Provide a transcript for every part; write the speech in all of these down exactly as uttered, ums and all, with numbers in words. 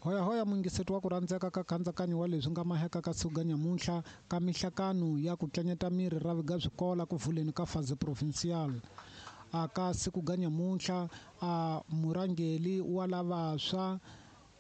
Hoya hoya mungiseto wa ku rhandzeka ka khandzakanyo wa leswi nga maheka ka suka nyamuntlha ka mihlakano ya ku tlanyeta miri ra viga swikola ku vuleni ka fase provincial. Aka siku ga nyamuntlha a murangeli wa lavaswa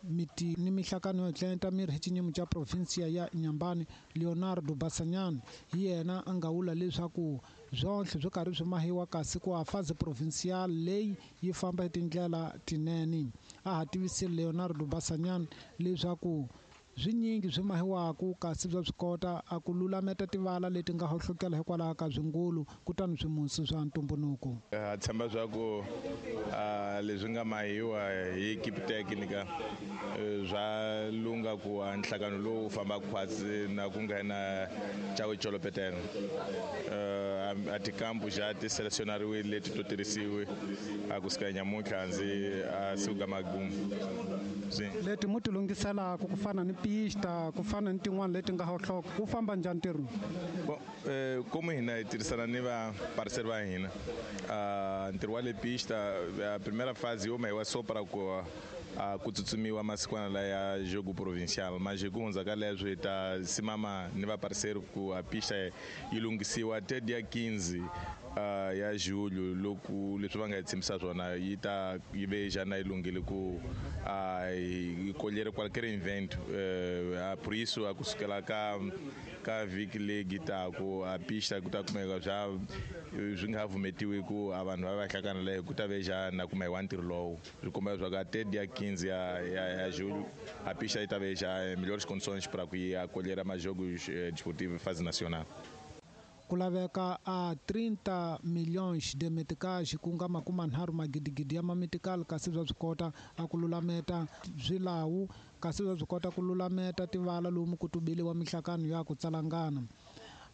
miti ni mihlakano yo tlanyeta miri hi xinyimo xa provinsia ya Inhambane Leonardo Basanyane hi yena a nga vula leswaku swonhle swo karhi swi mahiwa kasi ku a fase provincial leyi yi famba hi tindlela tinene. A ha tivisile Leonardo Basanyane leswaku swinyingi swi mahiwaku kasi bya swi kota a ku lulameta tivala leti nga hohlokela hikwalaho ka swingulu kutani swimusi swa ntumbuluko. Ha tshemba swa ku leswi nga mahiwa hi equipe técnica swa lunga ku nhlangano lowu famba khwatsi na ku nghena Chawe Cholopeteno. A tikampu xa ti selecionariwile leti to tirhisiwe a kusuka nyamuntlha ndzi a suka magumu. Leti mu ti lunghiselaka ku fana ni pista ku fana ni tin'wana leti nga hohloka ku famba njhani ntirho? Bon, eh, como hina hi tirhisana ni va parceiro va hina ntirho wa le pista a primeira fase yo mahiwa só para ku a ku tsutsumiwa masikwana la ya jogo provincial, mas ku hundza ka leswo hi ta simama ni va parceiro ku a pista yi lunghisiwa te dia quinze ya julho loko leswi va nga hi tshembisa swona yi ta yi ve jana yi lunghile ku a yi colher qualquer evento. Por isso a kusukela ka ka vhiki leyi taku a pista ku ta kumeka swa swi nga vumetiwi ku a vanhu va va hlangana leyo ku ta ve jana kuma hi wa ntirho lowu swi komba leswaku a te dia quinze ya ya ya julho a pista yi ta ve já em melhores condições para que acolher mais jogos desportivos fase nacional. Ku laveka a trinta milhões de meticais ku nga makumanharhu magidigidi ya mametical kasi bya swi kota a ku lulameta swilawu kasi bya swi kota ku lulameta tivala lomu ku tubeliwa mihlakano ya ku tsalangana.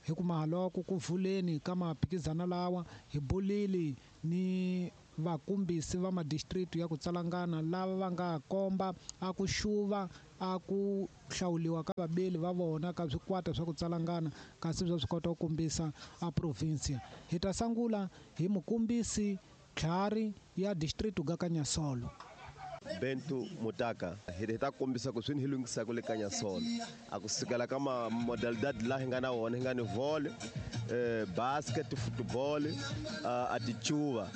Hi ku mahaloko ku vuleni ka maphikizana lawa hi bulili ni vakumbisi va madistrict ya ku tsalangana lava va nga komba a ku xuva a ku hlawuliwa ka vabeli va vona ka swikwata swa ku tsalangana kasi bya swi kota ku kombisa a provinsia. Hi ta sungula hi mukombisi tlhari ya district ga Kanyasolo. Bento Mutaka hi ta kombisa ku swi hi lunghisaka le Kanyasolo a ku sukela ka ma modalidade la hi nga na wona hi nga ni volley, eh, basket, football, a tichuva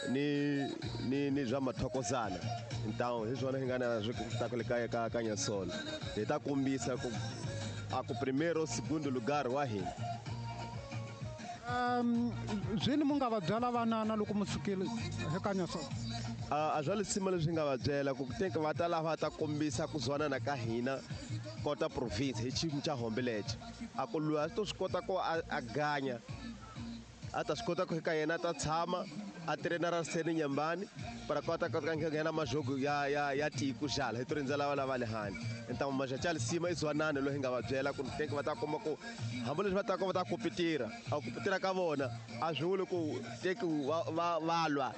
ni ni ni bya mathokozana. Então hi swona hi nga na swi ta le ka ka Kanyasolo. Hi ta kombisa ku a ku primeiro segundo lugar wa hina. Um zwini mu nga va byela vanana loko mu sukile hi Kanyasolo? A swa lisima leswi nga va byela ku tenka va ta lava ta kombisa ku zwanana ka hina kota province hi xiyimo xa Hombelethe. A ku loyi a to swi kota ku a ganya a ta swi kota ku ka yena ta tshama a trainera seni Nyambani para kota ka nghena majogo ya ya ya tiko xala hi to rindzela lava le handle. Então maja lisima i zwanana loyi hi nga va byela ku tenka va ta kuma ku hambi leswi va ta va ta kompetira a kompetira ka vona a swi vuli ku teki va va lwa.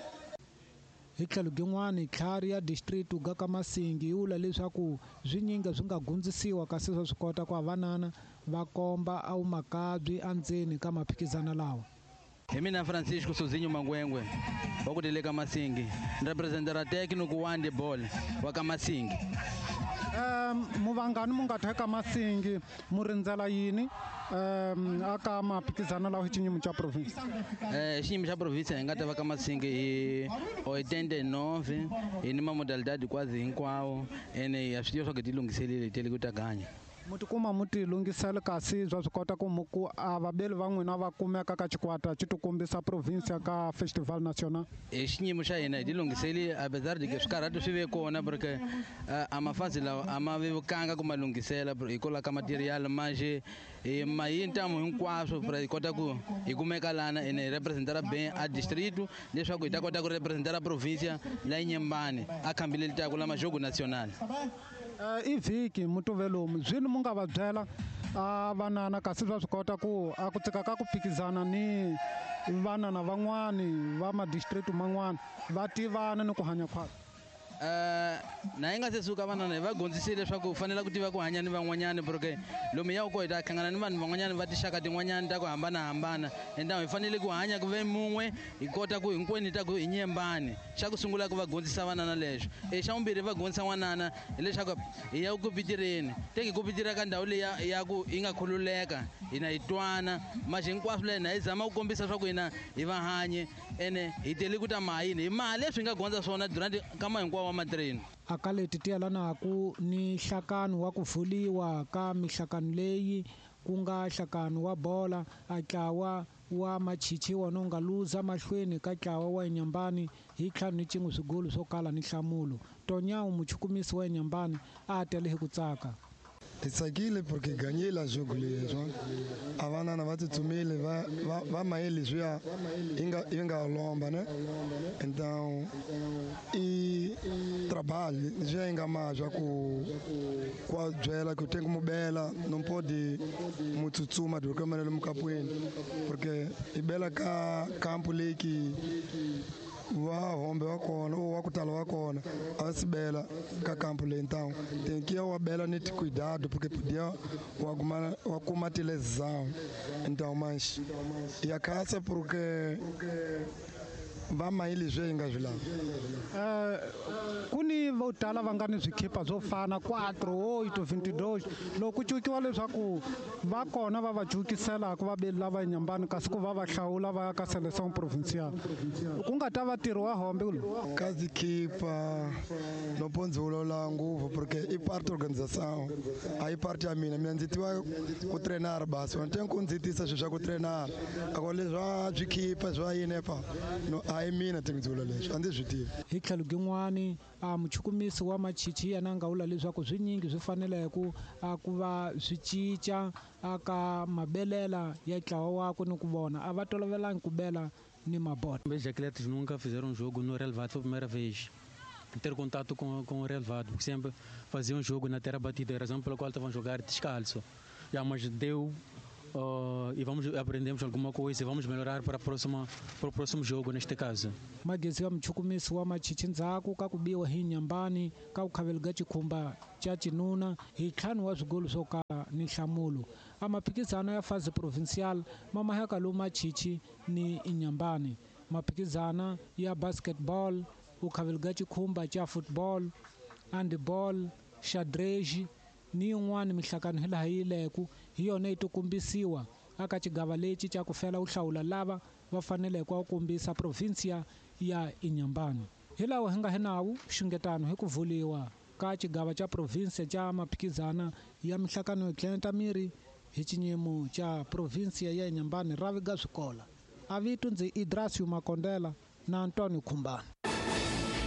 Hi tlhelo rin'wana tlhari ya district ga ka Masingi yi vula leswaku swinyingi swi nga gundzisiwa kasi swa swi kota ku vanana va komba a wu makabyi endzeni ka maphikizana lawa. Hi mina Francisco Sozinho Mangwengwe wa ku tele ka Masingi, representera técnico wa handball wa ka Masingi. Um muvangani mu nga theka Masingi mu rindzela yini um aka maphikizano lawa hi xinyimo xa province? Eh xiyimo xa province hi nga ta va ka Masingi hi oitenta e nove hi ni ma modalidade quase hinkwawo ene ya swi tiva swa ku ti lunghiselile hi tele ku ta ganya. Mu tikuma mu ti lunghisela kasi bya swi kota ku mu ku a vabeli va n'wina va kumeka ka xikwata xi ti kombisa province ka festival national? Hi xiyimo xa hina hi ti lunghiseli apesar de que swikarhato swi ve kona porque a mafazi lawa a ma vevukanga ku ma lunghisela hikwalaho ka material manje hi ma yi ntamu hinkwaswo pra hi kota ku hi kumeka lana ene hi representara bem a distrito leswaku hi ta kota ku representara provincia la Inhambane a khambile litaku la majogo nacional. I vhiki mutuvelomu zwini mu nga va byela a vanana kasi bya swi kota ku a ku tsika ka ku phikizana ni vanana van'wani va madistrict man'wana va tivana ni ku hanya khwatsi? Eh Na hi nga se suka vanana hi va gondzisile leswaku u fanele ku tiva ku hanya ni van'wanyana porque lomu ya ku hi ta hlangana ni vanhu van'wanyana va tinxaka tin'wanyana ta ku hambanahambana ende hi fanele ku hanya ku ve mun'we hi kota ku hinkwenu hi ta ku hi nyembani. Xa ku sungula ku va gondzisa vanana leswo. E xa vumbirhi va gondzisa n'wanana hileswaku hi ya ku pitireni teki ku pitira ka ndhawu leyi ya ku yi nga khululeka hina hi twana maxi hinkwaswo leyi na hi zama ku kombisa swa ku hina hi va hanye ene hi tele ku ta mahayini hi maha leswi hi nga gondza swona durant kama hinkwawo wa matireni. Aka leti ti yelanaku ni nhlakano wa ku vuliwa ka mihlakano leyi ku nga nhlakano wa bola a ntlawa wa machichi wona wu nga luza mahlweni ka ntlawa wa Inhambane hi ntlhanu ni cin'we swigolo swo kala ni nhlamulo. Tonyawu muchukumisi wa Inhambane a tele hi ku tsaka. Hi tsakile porque ganhei lá jogo leswi a vanana va tsutsumile va va va maye leswiya yi nga yi nga lomba né então e trabalho leswiya yi nga ma swa ku ku a byela ku tem como bela não pode mu tsutsuma de qualquer maneira mukapweni porque i bela ka campo leyi ki va hombe wa kona wa ku tala wa kona a va sibela ka campo leyi então tem que wa bela ni cuidado porque podia wa kuma wa kuma lesão então mas e a casa porque va mayi leswi yi nga swi lava. Eh ku ni vo tala va nga ni swikhipa swo fana quatro oito vinte e dois loko ku cukiwa leswaku va kona va va cukiselaka va beli lava Inhambane kasi ku va va hlawula va ya ka seleção provincial ku nga ta va ntirho wa hombe lowu. Ka zikhipa no pode vulavula ngopfu porque i parte organização a yi parte ya mina mina ndzi tiva ku treinar basi wena tem ku ndzi tisa swilo swa ku treinar ako leswa swikhipa swa yini pa no a yi mina ti ndzi vula leswi a ndzi swi tivi. Hi tlhelo gin'wani a muchukumisi wa machichi yena a nga vula leswaku swinyingi swi fanele ku a ku va swi cinca aka mabelela ya ntlawa wakwe ni ku vona a va tolovelangi ku bela ni mabota. Os atletas nunca fizeram um jogo no relevado, foi a primeira vez ter contato com, com o relevado, porque sempre faziam um jogo na terra batida, a razão pela qual estavam a jogar descalço. Já, mas deu Uh, e vamos aprendemos alguma coisa e vamos melhorar para a próxima para o próximo jogo neste caso. Magezi wa muchukumisi wa machichi ndzhaku ka ku biwa hi Inhambane ka ku khaveliga xikhumba xa cinuna hi ntlhanu wa swigolo swo kala ni nhlamulo. A maphikizano ya fase provincial ma maheka lowu machichi ni Inhambane. Maphikizana ya basketball, ku khaveliga xikhumba xa football, handball, xadrez ni yin'wana mihlakano hi laha yi leku hi yona yi tikombisiwa aka xigava lexi xa ku fela u hlawula lava va faneleke ku kombisa provinsia ya Inhambane. Hi lawa hi nga hi nawu xungetano hi ku vuliwa ka xigava xa provinsia xa maphikizana ya mihlakano yo tlenta miri hi xinyimo xa provinsia ya Inhambane ra viga swikola. A vito ndzi Idrasio Makondela na Antonio Khumbane.